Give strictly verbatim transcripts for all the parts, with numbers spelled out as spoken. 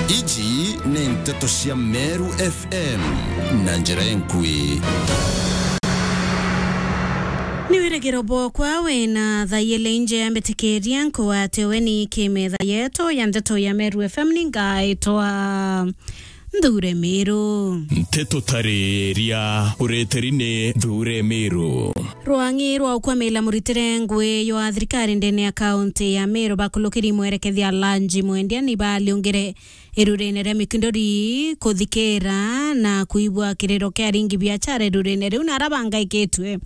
Iji ni nteto cia Meru F M na njira enkui. Ni wirigiro bwokwa wina thaa ijiri nje ya mbitikiria nkuwate weni kimetha yetu ya nteto ya Meru F M ni ngaitwa Nthure Miru. Nteto tariria ureteri ni Nthure Miru. Rwang'i rwa ukwamila muritire ngui ywa thirikari ndene ya kaunti ya Meru bakulukiri mwerekethia Lanji Mwendia ni baliungire irurine ria Mikindori kuthikira na kuigua kiriro kia aringi biachara irurine riu na ara bangaikitwe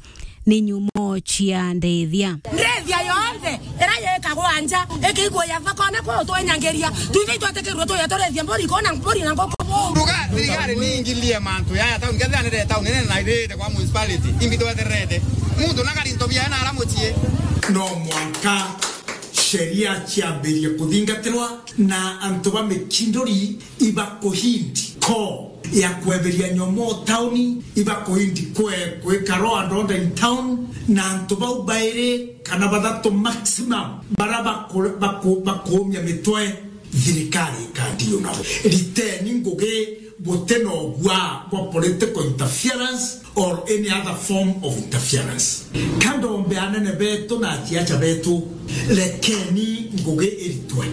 ni nyumo cia ndithia. Ndithia yonthe ira yikagwa nja, ikigwa ya thoko na kuu twenyangiria. Twithe itwetikirwe tuya turithie mburi, kona mburi na nguku. Nduga thirikari ni ingilie mantu yaya tauni, kethira ni tauni nene na irite kwa municipality, imbi twetererete. Muntu na kari into biaye na ara mucii. No mwanka sheria ciambirie kuthingatirwa na antu ba Mikindori ibakuhindi ko ya kweberia nyomo tauni, ibakuhindi kwe kwika law and order in town, na antu bau bairi kana bathatu maximum bara baku-, baku-, bakuumia mitwe, thirikari ikandiu nabo. Riteni ngugi guti na ugwa bwa political interference or any other form of interference. Ka ndombe anene betu na asiasa betu, rekeni ngugi iritwe.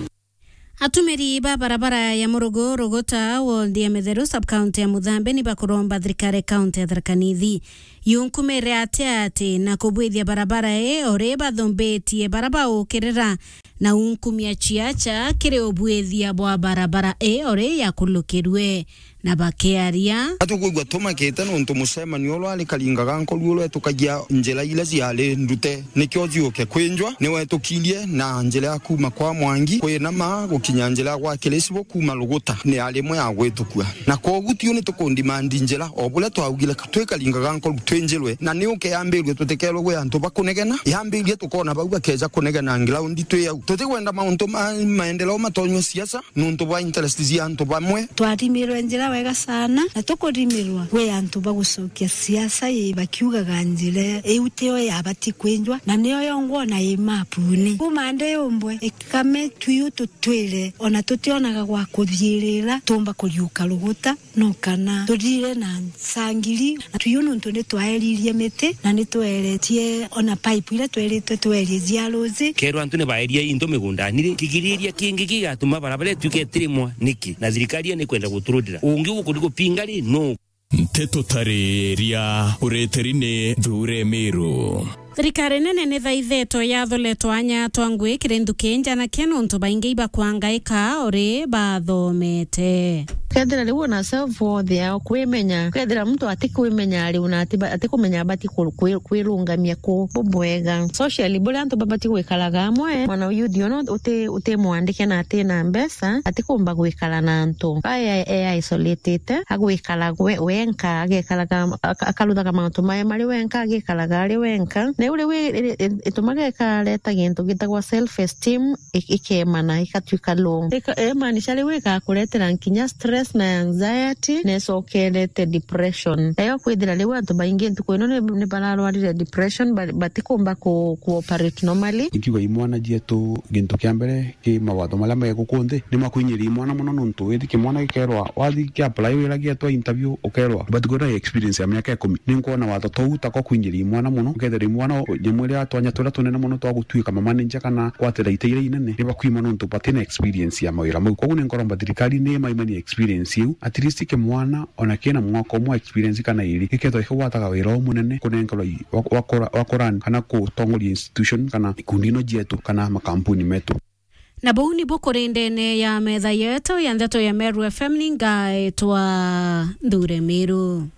Atumiri ba barabara ya Murugu Ruguta, ward ya Mitheru, sub-county ya Muthambe, ni bakuromba thirikari kaunti ya Tharaka Nithi yunkumire ati ati na kubwithia barabara ii uri bathumbitie bara baukirira na unkumia ciaca kiri ubwithia bwa barabara ii uri yakulukirwe. Na bakiaria. Atukwigua tumakite nontu mucemanio uria wari Karinga ga Nkoru uria wetukagia njira iria ciari ndute nikio ciuke kwinjwa, ni wetukirie na njira ya kuuma kwa Mwangi kwinama gukinya njira ya gwa Kirisibo kuuma Ruguta ni yari imwe ya gwitukua. Na kwogu tiu ni tukundimandi njira o buria twaugire twi Karinga ga Nkoru twinjirwe, na ni uke yambirue tutikerwe gwi antu ba kunegena, yambirie tukona bau bakeja kunegena ground twi au. Tutikwenda mauntu ma maendeleo matonywe siasa, nontu bwa interest cia antu bamwe. Twarimirwe njira wega sana, na tukurimirwa gwi antu ba gucokia siasa ii bakiugaga njira iu tio yabati kwinjwa, na nio yongwa ona i mapuni. Kuuma ndi umbwe, ikame tuiu tutwire, ona tutionaga gwa kuthiirira, tuumba kuriuka Ruguta, no kana tuthire na nsangiri. Na tuiu nontu ni twaeririe miti, na ni tweretie ona pipe iria tweritwe twerie cia ruuji. Kerwa antu ni baeria into migundani ri, kigiriria kingi gigatuma barabara ituike itirimwa niki? Na thirikari ni kwenda guturutira. Ungi ukuri gupinga ri, nu? Nteto tariria ureteri ni Nthure Miru. Thirikari nene ni thaithetwe yathuletwe anya twa ngui kiri nthuki njanakia nontu baingi ibakwangaika uri bathomete. Kethira riu ona self worth yao kwimenya, kethira muntu atikwimenya ari una ati ba-, atikumenya abati ku-, kwi-, kwirungamia ku bubwega. Socially, buria antu babati gwikaraga amwe, mwana youth ona uti-, utimwandike na atina mbeca, atikumba gwikara na antu. Aya e isolated, agwikara gwe-, wenka, agekaraga, aka-, akaruthaga mauntu maye mari wenka, agikaraga ari wenka. Na iu riu i-, i-, i-, itumaga ikareta gintu gitagwa self esteem, i-, ikemana, ikatuika low. Ika-, imaanisha riu igakuretera nkinya stress na anxiety, na icokerete depression. Nayo kwithira riu antu baingi ntuku ino ni, ni bararwarire depression, ba-, batikumba ku-, ku operate normally. Ikiuga imwana cietu, gintu kia mbere, ki mawatho maria me guku nthi, ni makwinyiria imwana mono, nontu withi kimwana gikerwa, wathi kia apply wira gietwa interview, ukerwa, but kwina experience ya miaka ikumi. Ni nkwona watho tou ta kwa kwinyiria imwana mono, ukethira imwana, nyamu iria twanya turia tunene mono twa gutuika mamanager kana kwatira ite iria inene, ni bakwima nontu batina experience ya mawira mau. Koguo ni nkoromba thirikari ni maimanie experience iu, at least kimwana ona kina mwaka umwe experience kana iri, gikethwa gikigwataga wira umunene kunenkerwa i-, wa, wa kura-, wa kurani kana kutongoria institution kana ikundi ino cietu kana makampuni metu. Na buu nibu kuri ndene ya metha yetu ya ndeto ya Meru F M, ni ngaetwa Nthure Miru.